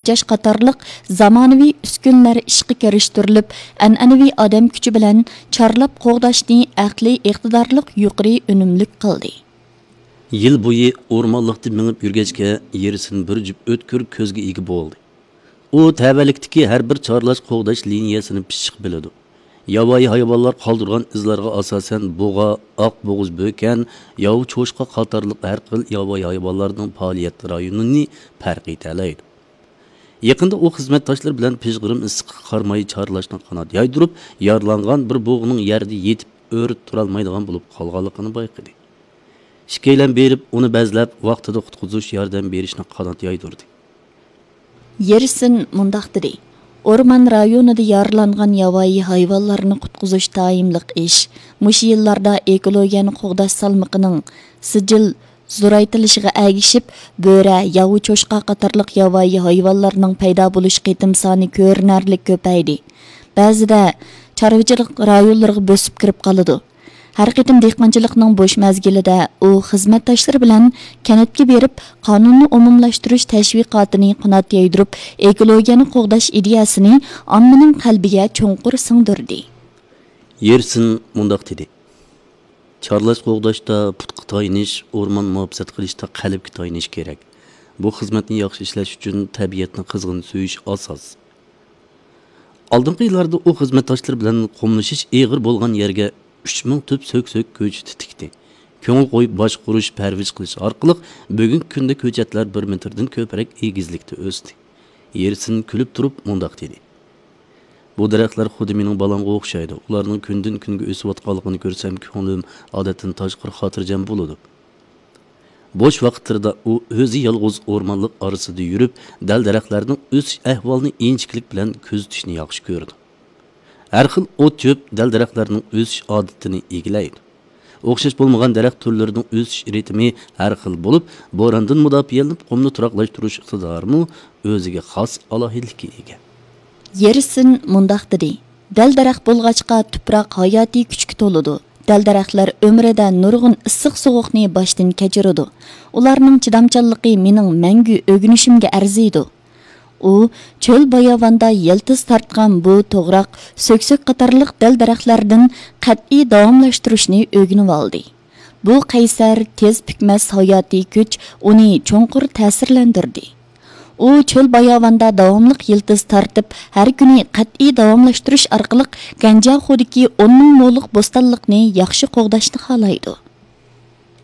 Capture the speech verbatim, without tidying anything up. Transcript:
تېجاش قاتارلىق زامانىۋى ئۈسكۈنىلەر ئىشقا كىرىشتۈرۈلۈپ، ئەنئەنىۋى ئادەم كۈچى بىلەن چارلاپ قوغداشنى ئەقلىي ئىقتىدارلىق يۇقىرى ئۈنۈملۈك قىلدى. يىل بويى ئورمانلىقتا مېڭىپ يۈرگەچكە، يېرسىن بىر جۈپ ئۆتكۈر كۆزگە ئىگە بولدى. ئۇ تەۋەلىكتىكى ھەر بىر چارلاش قوغداش لىنىيەسىنى پىششىق بىلىدۇ. ياۋايى ھايۋانلار قالدۇرغان ئىزلارغا ئاساسەن بۇغا، ئاق بوغۇز بۆكەن، ياۋا چوشقا قاتارلىق ھەر خىل ياۋايى ھايۋانلارنىڭ پائالىيەت رايونىنى پەرق ئېتەلەيدۇ. يېقىندا ئۇ خىزمەتداشلىرى بىلەن پىژغىرىم ئىسسىققا قارىماي چارلاشنى قانات يايدۇرۇپ، يارىلانغان بىر بۇغىنىڭ يەردە يېتىپ ئۆرە تۇرالمايدىغان بولۇپ قالغانلىقىنى بايقىدى. ئىككىيلەن بېرىپ، ئۇنى بەزلەپ، ۋاقتىدا قۇتقۇزۇش ياردەم بېرىشنى قانات يايدۇردى. يېرسىن مۇنداق دېدى: ئورمان رايونىدا يارىلانغان ياۋايى ھايۋانلارنى قۇتقۇزۇش دائىملىق ئىش. مۇشۇ يىللاردا ئېكولوگىيەنى قوغداش سالمىقىنىڭ سىجىل زورايتىلىشىغا ئەگىشىپ، بۆرە، ياۋا چوشقا قاتارلىق ياۋايى ھايۋانلارنىڭ پەيدا بولۇش قېتىم سانى كۆرۈنەرلىك كۆپەيدى. بەزىدە چارۋىچىلىق رايونلىرىغا بۆسۈپ كىرىپ قالىدۇ. ھەر قېتىم دېھقانچىلىقنىڭ بوش مەزگىلىدە ئۇ خىزمەتداشلىرى بىلەن كەنتكە بېرىپ، قانۇننى ئومۇملاشتۇرۇش تەشۋىقاتىنى قانات يايدۇرۇپ، ئېكولوگىيەنى قوغداش ئىدىيەسىنى ئاممىنىڭ قەلبىگە چوڭقۇر سىڭدۈردى. يېرسىن مۇنداق دېدى: چارلاش قوغداشتا پۇتقا تايىنىش، ئورمان مۇھاپىزەت قىلىشتا قەلبكە تايىنىش كېرەك. بۇ خىزمەتنى ياخشى ئىشلەش ئۈچۈن تەبىئەتنى قىزغىن سۆيۈش ئاساس. ئالدىنقى يىللاردا ئۇ خىزمەتداشلىرى بىلەن قۇملىشىش ئېغىر بولغان يەرگە ئۈچ مىڭ تۈپ سۆكسۆك كۆچىتى تىكتى. كۆڭۈل قويۇپ باشقۇرۇش، پەرۋىش قىلىش ئارقىلىق بۈگۈنكى كۈندە كۆچەتلەر بىر مېتىردىن كۆپرەك ئېگىزلىكتە ئۆستى. يېرسىن كۈلۈپ تۇرۇپ مۇنداق دېدى: بۇ دەرەخلەر خۇددى مېنىڭ بالامغا ئوخشايدۇ. ئۇلارنىڭ كۈندىن كۈنگە ئۆسۈۋاتقانلىقىنى كۆرسەم، كۆڭلۈم ئادەتتىن تاشقىرى خاتىرجەم بولىدۇ. بوش ۋاقىتلىرىدا ئۇ ئۆزى يالغۇز ئورمانلىق ئارىسىدا يۈرۈپ، دەل-دەرەخلەرنىڭ ئۆسۈش ئەھۋالىنى ئىنچىكىلىك بىلەن كۆزىتىشنى ياخشى كۆرىدۇ. ھەر خىل ئوت-چۆپ دەل-دەرەخلەرنىڭ ئۆسۈش ئادىتىنى ئىگىلەيدۇ. ئوخشاش بولمىغان دەرەخ تۈرلىرىنىڭ ئۆسۈش رىتىمى ھەر خىل بولۇپ، بوراندىن مۇداپىئەلىنىپ، قۇمنى تۇراقلاشتۇرۇش ئىقتىدارىمۇ ئۆزىگە خاس ئالاھىدىلىككە ئىگە. يېرسىن مۇنداق دېدى: دەل-دەرەخ بولغاچقا، تۇپراق ھاياتىي كۈچكە تولىدۇ. دەل-دەرەخلەر ئۆمرىدە نۇرغۇن ئىسسىق-سوغۇقنى باشتىن كەچۈرىدۇ. ئۇلارنىڭ چىدامچانلىقى مېنىڭ مەڭگۈ ئۆگىنىشىمگە ئەرزىيدۇ. ئۇ چۆل-باياۋاندا يىلتىز تارتقان بۇ توغراق، سۆكسۆك قاتارلىق دەل-دەرەخلەردىن قەتئىي داۋاملاشتۇرۇشنى ئۆگىنىۋالدى. بۇ قەيسەر، تېز پۈكمەس ھاياتىي كۈچ ئۇنى چوڭقۇر تەسىرلەندۈردى. ئۇ چۆل-باياۋاندا داۋاملىق يىلتىز تارتىپ، ھەر كۈنى قەتئىي داۋاملاشتۇرۇش ئارقىلىق گەنجياخۇدىكى ئون مىڭ مولۇق بوستانلىقنى ياخشى قوغداشنى خالايدۇ.